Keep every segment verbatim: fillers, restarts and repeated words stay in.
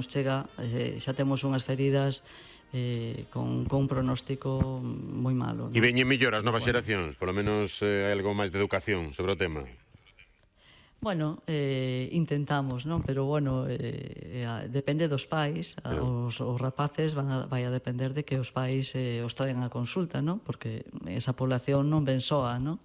nos chega, eh, xa temos unhas feridas eh, con, con un pronóstico moi malo, non? E veñen mellor as novas xeracións, polo menos eh, hai algo máis de educación sobre o tema. Bueno, eh, intentamos, non? Pero, bueno, eh, eh, depende dos pais. Os, os rapaces van a, vai a depender de que os pais eh, os traigan a consulta, non? Porque esa población non ven soa, non?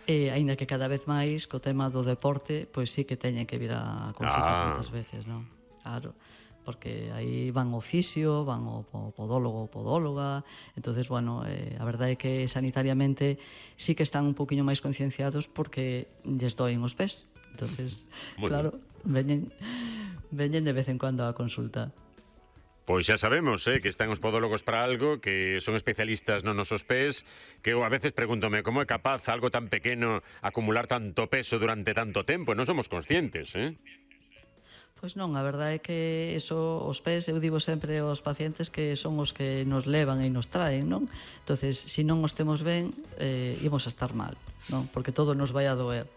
E, aínda que cada vez máis, co tema do deporte, pois sí que teñen que vir a consulta Ah. moitas veces, non? Claro, porque aí van ao fisio, van ao podólogo ou podóloga. Entonces, bueno, eh, a verdade é que sanitariamente sí que están un poquinho máis concienciados porque lles doen os pés. Entonces, Muy claro, veñen, veñen de vez en cuando a consulta. Pois xa sabemos, eh, que están os podólogos para algo, que son especialistas nos nosos pés, que eu a veces pregúntome como é capaz algo tan pequeno acumular tanto peso durante tanto tempo, non somos conscientes, eh? Pois non, a verdade é que eso, os pés, eu digo sempre aos pacientes que son os que nos levan e nos traen, non? Entonces, se non os temos ben, eh, imos a estar mal, non? Porque todo nos vai a doer.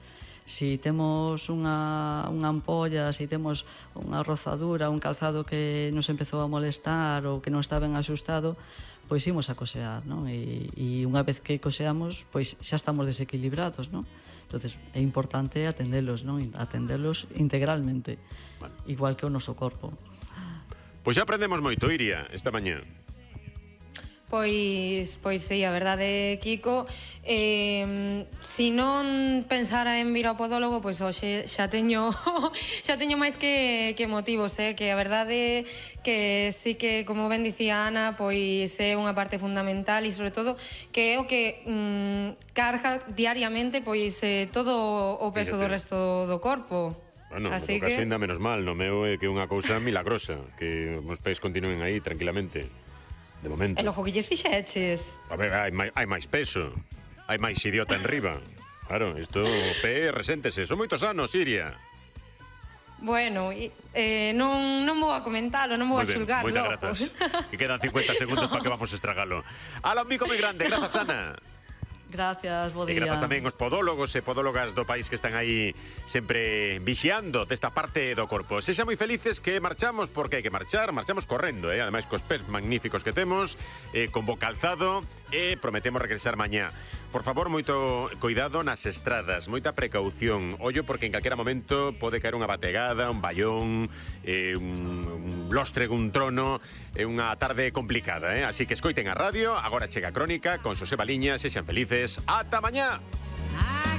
Si temos unha, unha ampolla, si temos unha rozadura, un calzado que nos empezou a molestar ou que non está ben axustado, pois imos a cosear, non? E, e unha vez que coseamos, pois xa estamos desequilibrados, non? Entonces é importante atendelos, non? Atendelos integralmente, bueno, igual que o noso corpo. Pois xa aprendemos moito, Iria, esta mañá. Pois, pois sí, a verdade, Kiko, eh, si non pensara en vir ao podólogo, pois hoxe xa teño xa teño máis que, que motivos, eh? Que a verdade que sí que, como ben dicía Ana, pois é unha parte fundamental e sobre todo que é o que mm, carga diariamente pois eh, todo o peso do resto do corpo. Bueno, así no caso que... ainda menos mal, no meu é que é unha cousa milagrosa, que os pés continúen aí tranquilamente. De momento. E logo que lles fixeches? A ver, hai, hai máis peso. Hai máis idiota en riba. Claro, isto o pé reséntese. Son moitos anos, Iria. Bueno, eh, non, non vou a comentalo, non vou a xulgar logo. Moitas grazas. Que quedan cincuenta segundos para que vamos a estragalo. Ala, un bico moi grande. Grazas, Ana. Gracias, bo día. E grazas tamén os podólogos e podólogas do país que están aí sempre vixiando desta parte do corpo. Sexa moi felices que marchamos, porque hai que marchar, marchamos correndo, eh? Ademais cos pés magníficos que temos, eh, con bo calzado, e prometemos regresar mañá. Por favor, moito cuidado nas estradas, moita precaución. Ollo, porque en calquera momento pode caer unha bategada, un ballón, eh, un, un lóstrego, un trono. É unha tarde complicada, eh? Así que escoiten a radio, agora chega a crónica con Xosé Baliña, sexan felices. Ata mañá!